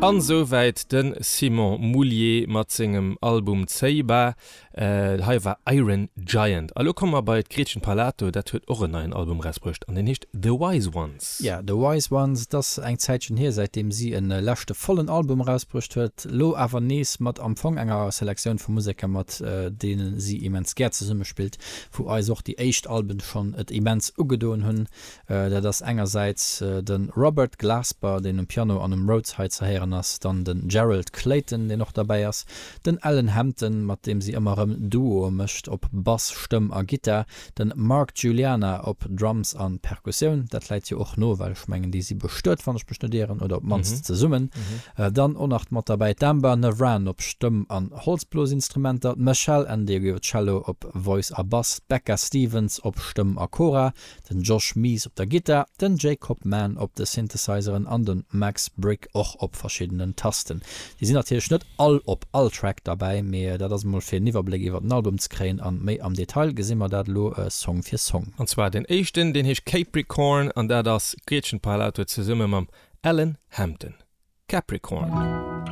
An souwäit de Simon Moullier mat sengem Album Ceiba. Hei war Iron Giant. A lo komme mer bei d'Gretchen Parlato, dat huet och en neien Album erausbruecht an deen heescht The Wise Ones. Ja, The Wise Ones, et ass eng Zäitchen hier, säitdeem si e leschte vollen Album erausbruecht huet. Lo awer nees mat am Fong enger Selektioun vu Museker, mat deene si immens gär zesummespillt, wou eis och déi éischt Alben schonn et immens ugedoen hunn. Dat ass engersäits de Robert Glasper, deen um Piano an um Rhodes hei ze héieren ass, dann den Gerald Clayton, deen och derbäi ass, den Alan Hampton, mat deem si ëmmer erëm Duoe mécht op Bass, Stëmm a Gittar, den Mark Guiliana op Drums an Perkussioun, dat läit jo och no, well ech mengen déi si bestuet, wann ech mech net ieren, oder op d'mannst zesummen. Dann och nach mat derbäi d'Amber Navran op Stëmm an Holzblosinstrumenter, d'Meshell Ndegeocello op Voice a Bass, d'Becca Stevens op Stëmm a Kora, den Josh Mees op der Gittar, den Jacob Mann op de Synthesizeren an de Max Brick och op verschiddenen Tasten. Déi sinn natierlech net all op all Track derbäi, mee dat ass emol fir en Iwwerbléck iwwer den Album ze kréien an méi am Detail gesi mer dat elo Song fir Song. An zwar den éischten, deen heescht Capricorn an dat ass d'Gretchen Parlato zesumme mam Alan Hampton. Capricorn.